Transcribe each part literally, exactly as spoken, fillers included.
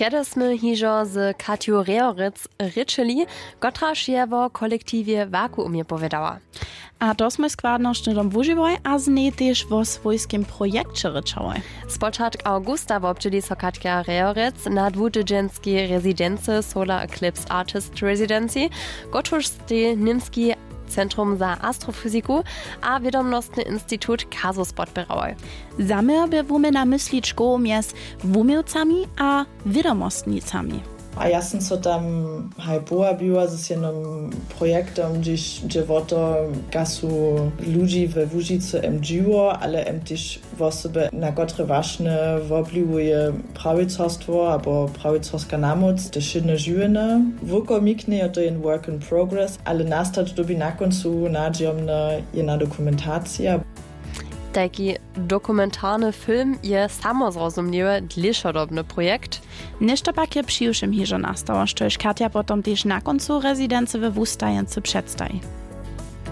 Rjady smy hižo z Katju Rehorec rěčeli, kotraž je wo kolektiwje Vakuumje powědała. A to smój składnosće dom wužiwoj a z njej tež wo swójskim projekće rěčałoj. Spočatk awgusta wobdźěli so Katja Rehorec na dwutydźenskej rezidency Solar Eclipse Artist Residency, kotruž stej Němski centrum za astrofyziku a wědomnostny institut Kasus podpěrałoj. Zaměr bě wuměna mysli škołow mjez wuměłcami a wědomostnicami. A ja sym so tam haj powabiła z jednym projektom, hdźež dźe wo to, kaž su ludźi we Łužicy em dźiwo, ale em tež wosoby, na kotre wašnje wopliwuje prawicarstwo abo prawicarska namóc te wšědne žiwjenje. Wulkomiknje je to jen work in progress, ale nastać dyrbi na kóncu nadźijomnje jedna dokumentacija. Tajki dokumentarny film je, samozrozumliwy, dlěšodobny projekt. Něšto pak je přiwšěm hižo nastało, štož Katja potom tež na kóncu rezidency we Wustajence předstaji.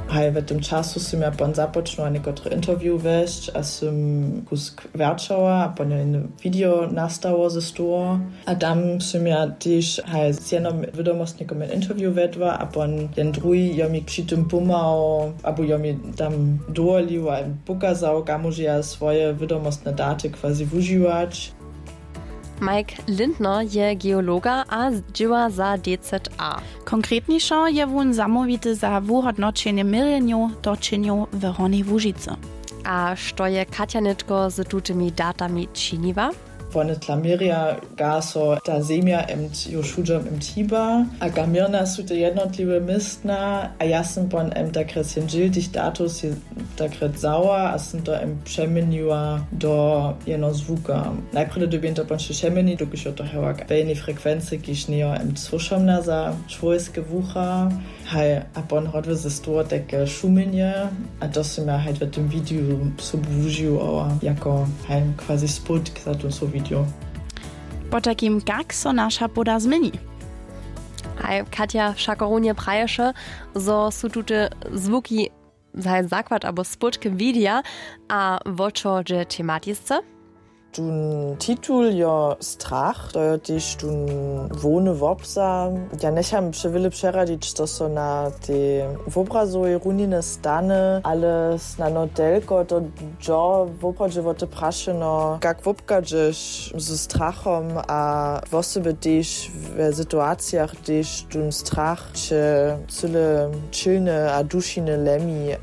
Haj, w tym času sym ja pon započnyła někotre interview wjesć a sym kusk wjerćała a pon jedne video nastało ze stoło. A tam sym ja tež haj z jednym wědomostnikom jedno interview wjedła a pon jedn druhi jo mi při tym pomhał abo jo mi tam dowolił a pokazał, kamuž ja swoje wědomostne daty quasi wužiwać. Mike Lindner je geologa a dźěła za D Z A. Konkretnišo je wón zamołwity za wuhódnoćenje měrjenjow točenjow w Hornjej Łužicy. A što je Katja nětko z tutymi datami činiła? Wone tla měrja, kaž so ta zemja emt jo wšudźom emt hiba a kaž měrna su te jednotliwe městna. A ja sym pon emt takre syn dźěl tych datow sej takre wzała a sym to emt přeměniła do jeno zwuka. Najprjedy dyrbjeń to pon sej přeměnić, dokelž jo to hewak w jednej frekwency, kiž njejo emt słyšomna za čłowjeske wucha. Haj, a pon hodły ze stoło tajke šuměnje. A to sym ja haj w tym video sobu wužił, ała jako haj quasi spótk za tym so video. Potajkim, kak so naša poda změni? Haj, Katja wšako runje praješe, zo su tute zwuki haj zakład abo spótk widja. A wo čo dźe tematisce? Tón titul jo strach, to jo tež tón hłowny wobza. Ja njecham přewjele přeradić, što so na tej wobrazowej runiny stany, ale snano telko, to dźo woprawdźe wo te prašeno, kak wobchadźeš ze strachom a wosebje tež w situacijach, hdyž tón strach će cyle ćělnje a dušinje lemi.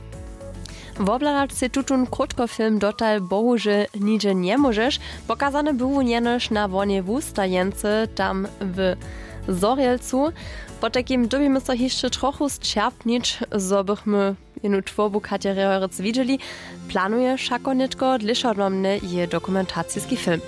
Wobhladać sej tutón krótkofilm dotal bohužel nihdźe njemóžeš. Pokazany był wón jenož na Hornjej Wustajence tam w Zhorjelcu. Potajkim dyrbimy so hišće trochu sćerpnić, zo bychmy jenu twórbu Katje Rehorec widźeli. Planuje wšako nětko dlěšodobnje jeje dokumentaciski film.